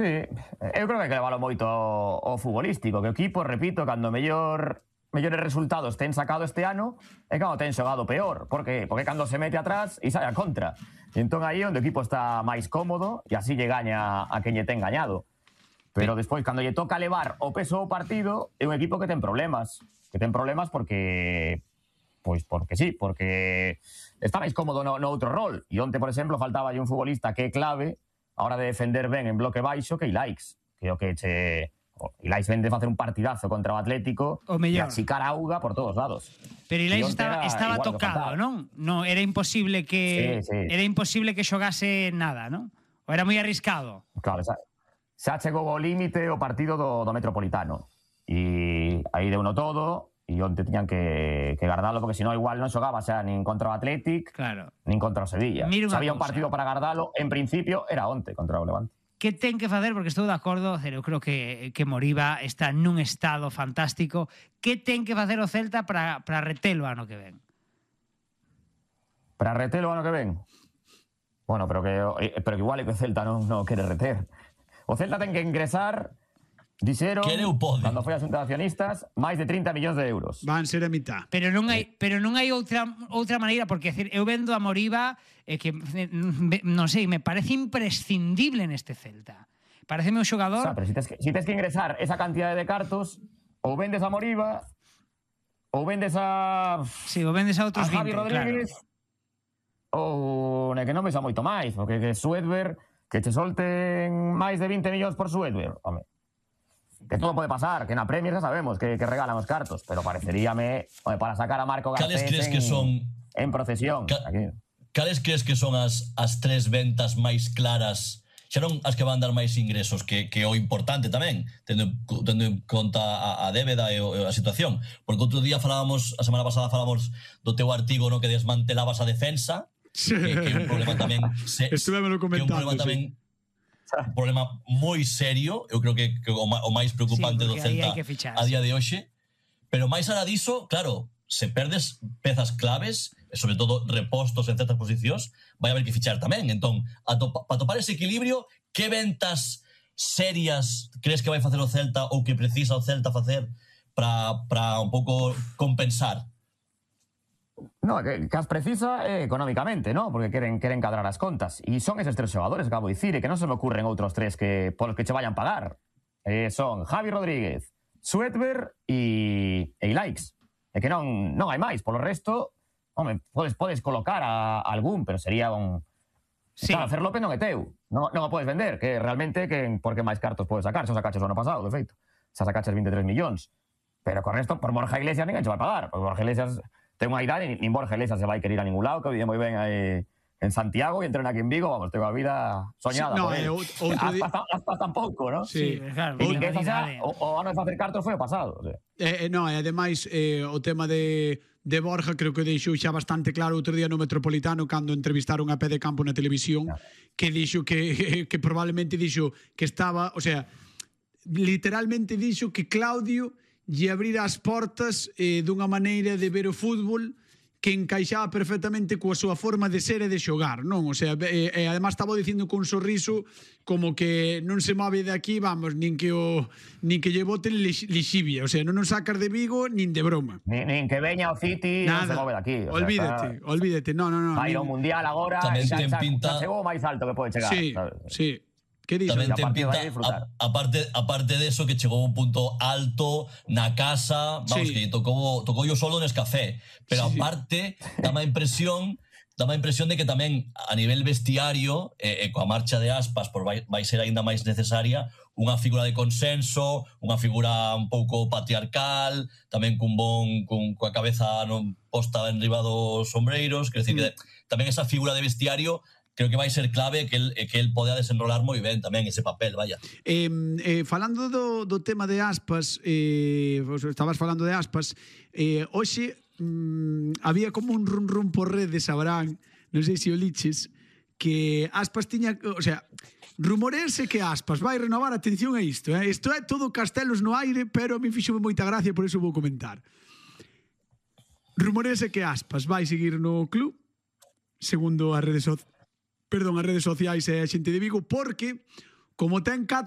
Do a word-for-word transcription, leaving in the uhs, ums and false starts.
Sí, eu creo que hai que leválo moito ao, ao futbolístico, que o equipo, repito, cando mellor mellores resultados ten sacado este ano é cando ten xogado peor. Por que? Porque cando se mete atrás e sai a contra. E entón aí onde o equipo está máis cómodo e así lle gaña a quen lle ten gañado. Pero despois, cando lle toca levar o peso do partido, é un equipo que ten problemas. Que ten problemas porque... Pois porque sí, porque está máis cómodo no, no outro rol. E onte, por exemplo, faltaba un futbolista que é clave a hora de defender ben en bloque baixo que Ilaix. Que é o que che... Ilaix vende facer un partidazo contra o Atlético e achicar a auga por todos lados. Pero Ilaix estaba, estaba tocado, non? No, era imposible que sí, sí. era imposible que xogase nada, non? Ou era moi arriscado? Claro, xa, xa chegou ao límite o partido do, do Metropolitano. E aí deu no todo e onte tiñan que, que guardalo porque senón igual non xogaba xa nin contra o Atlético, claro, nin contra o Sevilla. Xa había un partido para guardalo, en principio era onte contra o Levante. Que ten que facer, porque estou de acordo, eu creo que, que Moriba está nun estado fantástico, que ten que facer o Celta para, para retelo ano que ven? Para retelo ano que ven? Bueno, pero que, pero que igual é que o Celta non, non quere reter. O Celta ten que ingresar, dixeron, cando foi a xunta de accionistas, máis de trinta millóns de euros. Van ser a mitad. Pero non hai, pero non hai outra, outra maneira, porque decir, eu vendo a Moriba eh, que, non sei, me parece imprescindible neste Celta. Pareceme un xogador... O sea, pero si tes, que, si tes que ingresar esa cantidade de cartos, ou vendes a Moriba, ou vendes a... Sí, ou vendes a outros a Javi vinte, Rodríguez, claro. Ou ne que non me xa moito máis, porque que Suedberg, que che solten máis de vinte millóns por Suedberg, home. Que todo pode pasar, que na Premier xa sabemos que, que regalan os cartos, pero pareceríame home, para sacar a Marco Garcés crees en, que son, en procesión. Ca, cales crees que son as, as tres ventas máis claras, xa non as que van dar máis ingresos, que, que o importante tamén, tendo, tendo en conta a, a débeda e a situación? Porque outro día falábamos, a semana pasada falábamos do teu artigo, no, que desmantelabas a defensa, que, que é un problema tamén... Se, Estuvemelo comentando, que é un problema tamén... Sí. Un problema moi serio, eu creo que, que o, o máis preocupante sí, do Celta a día de hoxe, pero máis alá diso, claro, se perdes pezas claves, e sobre todo repostos en certas posicións, vai haber que fichar tamén. Entón, para topar ese equilibrio, que ventas serias crees que vai facer o Celta ou que precisa o Celta facer para un pouco compensar? No, que, que as precisa eh, económicamente, ¿no? Porque queren, queren cadrar as contas. E son eses tres xogadores, acabo de dicir, e que non se me ocurren outros tres que polos que che vayan pagar. Eh, son Javi Rodríguez, Suedberg e, e Ilaix. E que non, non hai máis. Polo resto, home, podes, podes colocar a, a algún, pero sería un... Sí. Claro, Fer López non é teu. Non, non o podes vender, que realmente que, porque máis cartos podes sacar. Xa sacaches o ano pasado, de feito. Xa sacaches vinte e tres millóns. Pero con resto, por Borja Iglesias ninguén che vai pagar. Porque Borja Iglesias... ten unha idade, nin Borja Iglesias se vai querer ir a ningún lado, que vive moi ben aí en Santiago e entrena aquí en Vigo, vamos, tengo a vida soñada sí, no, por él. Eh, hasta, hasta tampouco, ¿no? Sí, sí claro. E ninguén xa, o, o ano de facer cartos foi o pasado. O sea. eh, eh, no, e ademais, eh, o tema de, de Borja creo que deixou xa bastante claro outro día no Metropolitano cando entrevistaron a Pé de Campo na televisión, no. que dixo que, que probablemente dixo que estaba, o sea, literalmente dixo que Claudio lle abrir as portas eh, dunha maneira de ver o fútbol que encaixaba perfectamente coa súa forma de ser e de xogar, non? O sea, e, e además estaba dicindo con un sorriso como que non se move de aquí, vamos, nin que o nin que lle boten lixibia, o sea, non nos sacas de Vigo nin de broma. Nin, nin que veña o City, non se move de aquí. O olvídate, sea, está... olvídate, no, no, no. Vai ao Mundial agora, xa, xa, xa chegou o máis alto que pode chegar. Sí, ¿sabes? sí. Que dixo? Tamén ten pinta, a, aparte, aparte de eso, que chegou un punto alto na casa, vamos, sí. que tocou, tocou yo solo nes café, pero sí, aparte, dá má impresión dá má impresión de que tamén a nivel vestiario, e, e coa marcha de Aspas, por vai, vai ser aínda máis necesaria unha figura de consenso, unha figura un pouco patriarcal, tamén cun bon, cun, coa cabeza non posta en riba dos sombreiros, quer decir mm. que tamén esa figura de vestiario creo que vai ser clave que el, que el podea desenrolar moi ben tamén ese papel, vaya. Eh, eh, falando do, do tema de Aspas, eh, estabas falando de Aspas, eh, hoxe mm, había como un run run por redes, sabrán, non sei se o liches, que Aspas tiña, o sea, rumorearse que Aspas vai renovar, atención a isto, eh? Isto é todo castelos no aire, pero a mí fixome moita gracia, por iso vou comentar. Rumorearse que Aspas vai seguir no club, segundo as redes sociais, perdón, as redes sociais e a xente de Vigo, porque como ten catro